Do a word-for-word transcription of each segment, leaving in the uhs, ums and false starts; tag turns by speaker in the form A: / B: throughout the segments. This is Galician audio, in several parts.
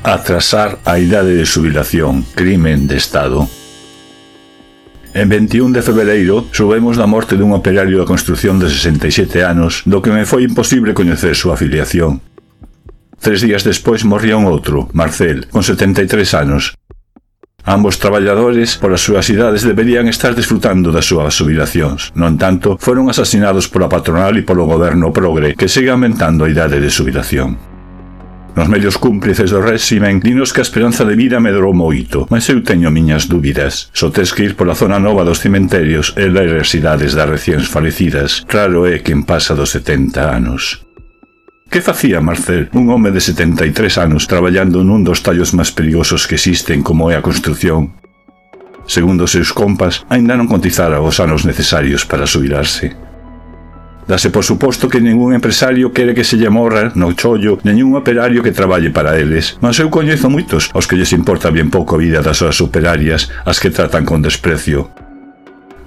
A: Atrasar a idade de xubilación, crimen de Estado. En veintiún de febreiro soubemos da morte dun operario da construción de sesenta e sete anos, do que me foi imposible coñecer súa afiliación. Tres días despois morría un outro, Marcel, con setenta e tres anos. Ambos traballadores, polas súas idades, deberían estar disfrutando das súas xubilacións. No entanto, foron asasinados pola patronal e polo goberno progre, que segue aumentando a idade de xubilación. Nos medios cúmplices do réximen dinos que a esperanza de vida medrou moito, mas eu teño miñas dúbidas. Só tes que ir pola zona nova dos cementerios e ler as idades das recién falecidas. Raro é quen pasa dos setenta anos. Que facía Marcel, un home de setenta e tres anos, traballando nun dos tallos máis perigosos que existen como é a construción? Segundo os seus compas, aínda non cotizara os anos necesarios para xubilarse. Dase por suposto que ningún empresario quere que se lle morra no chollo ningún operario que traballe para eles, mas eu coñezo moitos aos que lles importa bien pouco a vida das súas operarias, as que tratan con desprecio.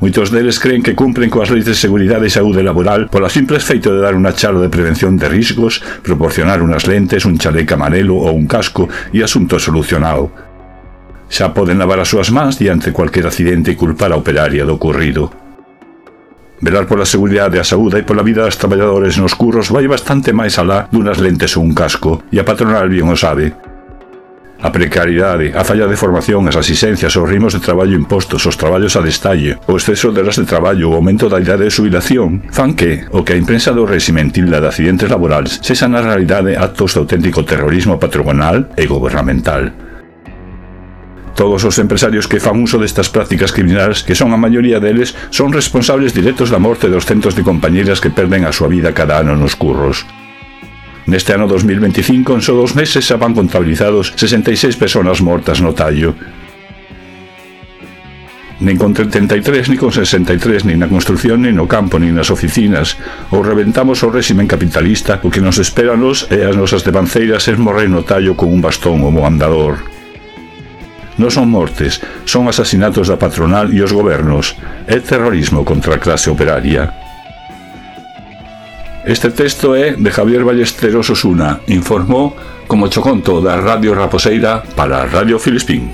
A: Moitos deles creen que cumpren coas leis de seguridade e saúde laboral pola simple feito de dar unha charla de prevención de riscos, proporcionar unas lentes, un chaleco amarelo ou un casco e asunto solucionado. Xa poden lavar as súas mans diante cualquier accidente e culpar a operaria do ocorrido. Velar pola seguridade, a saúde e pola vida das traballadores nos curros vai bastante máis alá dunas lentes ou un casco, e a patronal bien o sabe. A precariedade, a falla de formación, as asistencias, os ritmos de traballo impostos, os traballos a destalle, o exceso de horas de traballo, o aumento da idade de xubilación, fan que, o que a imprensa do réximen tilda de accidentes laborales, sexan na realidade actos de auténtico terrorismo patronal e gubernamental. Todos os empresarios que fan uso destas prácticas criminais, que son a maioría deles, son responsables directos da morte dos centos de compañeiras que perden a súa vida cada ano nos curros. Neste ano dos mil veinticinco, en só dos meses, xa van contabilizados sesenta e seis persoas mortas no tallo. Nin con trinta e tres, nin con sesenta e tres, nin na construción, nin no campo, nin nas oficinas. Ou reventamos o réximen capitalista, o que nos espera a nos e as nosas devanceiras é morrer no tallo con un bastón como andador. Non son mortes, son asasinatos da patronal e os gobernos. É terrorismo contra a clase operaria. Este texto é de Javier Ballesteros Osuna, informou como choconto da Radio Raposeira para Radio Filispín.